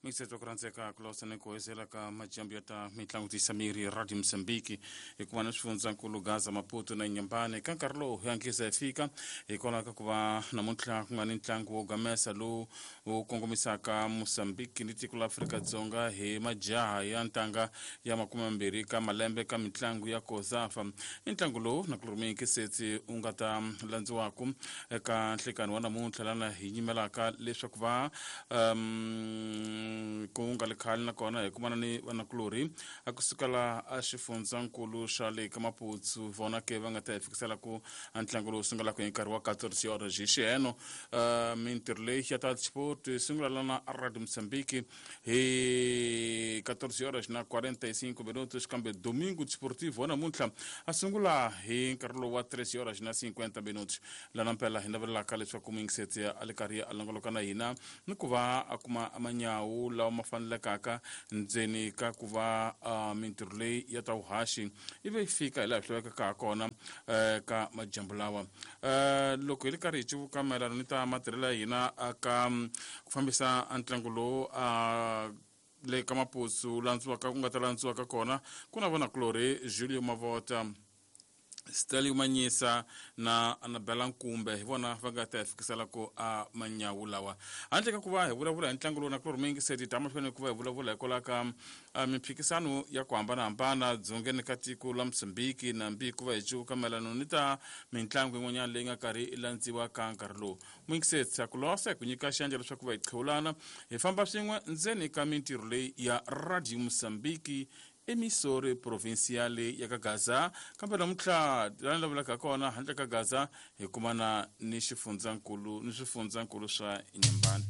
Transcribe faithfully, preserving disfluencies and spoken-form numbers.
Mixeto ku rhandzeka ku losa ni ku hezela ka majambu ya ta mitlangu tisa miri Radio Mozambique hikuva na swifundzankulu Gaza, Maputo na Nyambane. Ka nkarhi lowu hi hatlisa hi fika hikwalaho ka ku va namuntlha ku nga ni ntlangu wo gamesa lowu wu kongomisaka Mozambique ni tiko la Afrika-Dzonga hi majaha ya ntanga ya makume mambirhi ka malembe ka mitlangu ya COSAFA. I ntlangu lowu nakulorhi Setsi wu nga ta landziwaku eka nhlekani wa namuntlha lana hi nyimelaka leswaku va um, ku nga le khale nakona hi kumana ni vanakulorhi a kusuka laha a xifundzankulu xa le ka Maputsu, vona ke va nga ta hi fikisela ku ntlangu lowu sungulaka hi nkarhi wa quatorze horas hi xiheno. uh, mintirho leyi ya ta sport yi sungula lana a Radio Mozambique hi quatorze horas na quarenta e cinco minutos, kambe domingo desportivo wa namuntlha a sungula hi nkarhi lowu wa treze horas na cinquenta minutos. Lana mpela hi navelelaka leswaku muyingiseti a le karhi a longoloka na hina ni ku va a kuma manyawu lawa ma fanelekaka ndzeni ka ku va uh, mintirho leyi ya ta vuhaxi ivi yi fika hi laha swi lavekaka ha kona uh, ka majambu lawa. uh, loko hi ri karhi hi civuka mayelana ni ta matirhelo ya hina ka ku fambisa ntlangu lowu uh, le ka Maputsu landziwaka ku nga ta landziwaka kona, ku na vonakulorhi Julio Mavota, Stelio Manyisa na Anabela Nkumbe, hi vona va nga ta hi fikisela ku a manyawu lawa. Handle ka ku va hi vulavula hi ntlangu lowu, na ku ri muyingiseri ta mahlweni ku va hi vulavula hikwalaho ka mimphikisano ya ku hambanahambana dzongeni ka tiko la Mozambique, nambi ku va hi cuvuka mayelana ni ta mitlangu yin'wanyana leyi nga karhi yi landziwa ka nkarhi lowu. Muyingiseri a ku losa hi ku nyika xandla leswaku va hi qhewulana hi famba swin'we ndzeni ka mintirho leyi ya Radio Mozambique, emisori provinciale ya ka Gaza. Kambe namuntlha lani lavulaka kona, handle ka Gaza hi kumana ni xifundzankulu ni swifundzankulu swa Nyambani.